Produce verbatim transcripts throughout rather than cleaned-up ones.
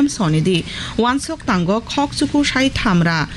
Sonidi, wansok tango khok chuku sai thamra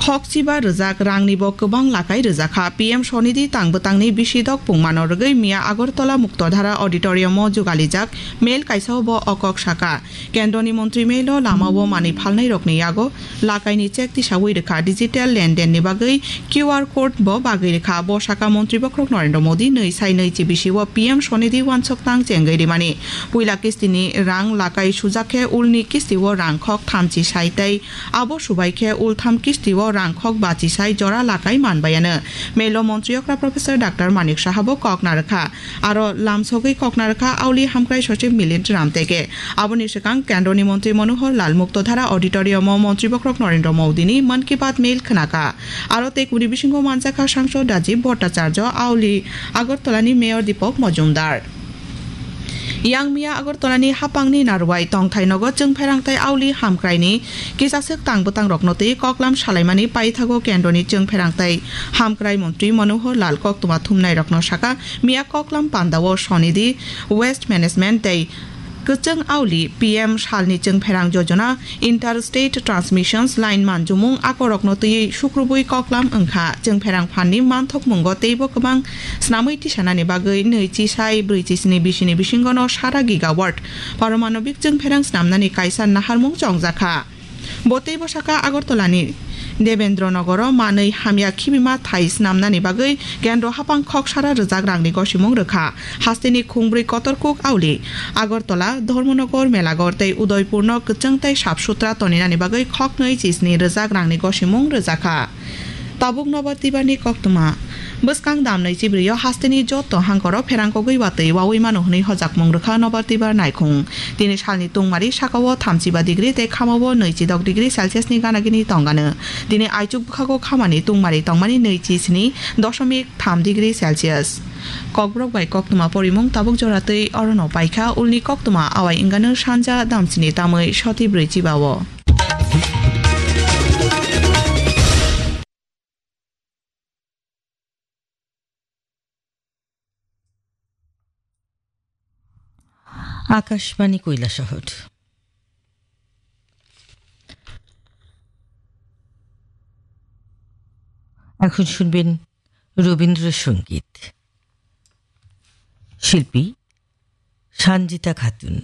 khok chiba rwjak rangni bo kwbang lakai rwjakha. P M Sonidi tang bwtangni bisi dok pungmano rwgwi miya Agartala Muktodhara Auditorium o jugalijak mel kaisa o bo o kok saka. Kendroni montri melo lama o manwi phalnai rokni yago lakaini check tisawi rwkha. Digital lenden ni bagwi Q R code bo bagwi rwkha. Bo saka montri bokhorok Narendra Modi nwi sai nwi chibisi o P M Sonidi wansok tang chengwi rimani. Puila kistini rang lakai sujak khe ulni kisti o rang khok thamchi sai tei abo subai khe ultham kisti o rang khok bachi sai jora lakai manbayano. Melo montri okra Professor Doctor Manik Saha bo kok narwkha. Aro lamsogwi kok narwkha Auli Hamkrai Sochib Milind Ramtege. Aboni swkang Kendroni montri Manohar Lal Muktodhara Auditorium o montri bokhorok Narendra Modi ni Mann Ki Baat mel khwnakha. Aro tei kubuni bisingo manjakha Sangsod Rajiv Bhattacharya, Auli Agartala ni Mayor Deepak Majumdar. Yang miya Agartala ni hapang ni Narwai tongthai nogo chwngpherang tei Auli Hamkrai ni kisaswk tang bwtang rokno twi koklam salaimani paithago Kendroni chwngpherang tei Hamkrai montri Manohar Lal koktwma thumnai rokno saka miya koklam pandao Sonidi Waste Management tei Kwchwng Auli P M salni chwngpherang jojona Interstate Transmissions Line manjumung akorokno twiwi sukrubwi koklam wngkha. Chwngpherang phanni manthokmungo teibo kwbang snamwi tisanani bagwi nwi chisai brwi chisni bisini bisingono sara gigawatt paromanobik chwngpherang snamnani kaisa naharmung chongjakha. Bo teibo saka Agartala ni Debendra Nogoro manwi hamya khibima thai snamnani bagwi kendro hapang khok sara rwjak rangni gosimung rwkha. Hasteni khungbrwi kotor kuk Auli, Agartala, Dharmanagar, Melagar tei Udaipurno kwchwng tei sap sutra toninani bagwi khoknwi chisni rwjak rangni gosimung rwjakha. Tabuk Nobar Tibarni koktwma. Bwskang damnwi chibrwio hasteni joto hangkoro pherangkogwi watwi wawi mano hwnwi hojakmung rwkha Nobar Tibar naikhung. Tini salni tungmari sakao thamchiba degree tei khamao nwichidok degree Celsius ni gana gini tongano. Tini aichuk bwkhago khamani tungmari tongmani nwichi sini doshomik tham degree Celsius. Kokborok bai koktwma porimung tabuk jora twi orono paikha, ulni koktwma awai wngano sanja damsini tamwi soti brwi chibao. Akashbani Kailasahar. এখন শুনবেন রবীন্দ্রসঙ্গীত। শিল্পী সঞ্জিতা খাতুন।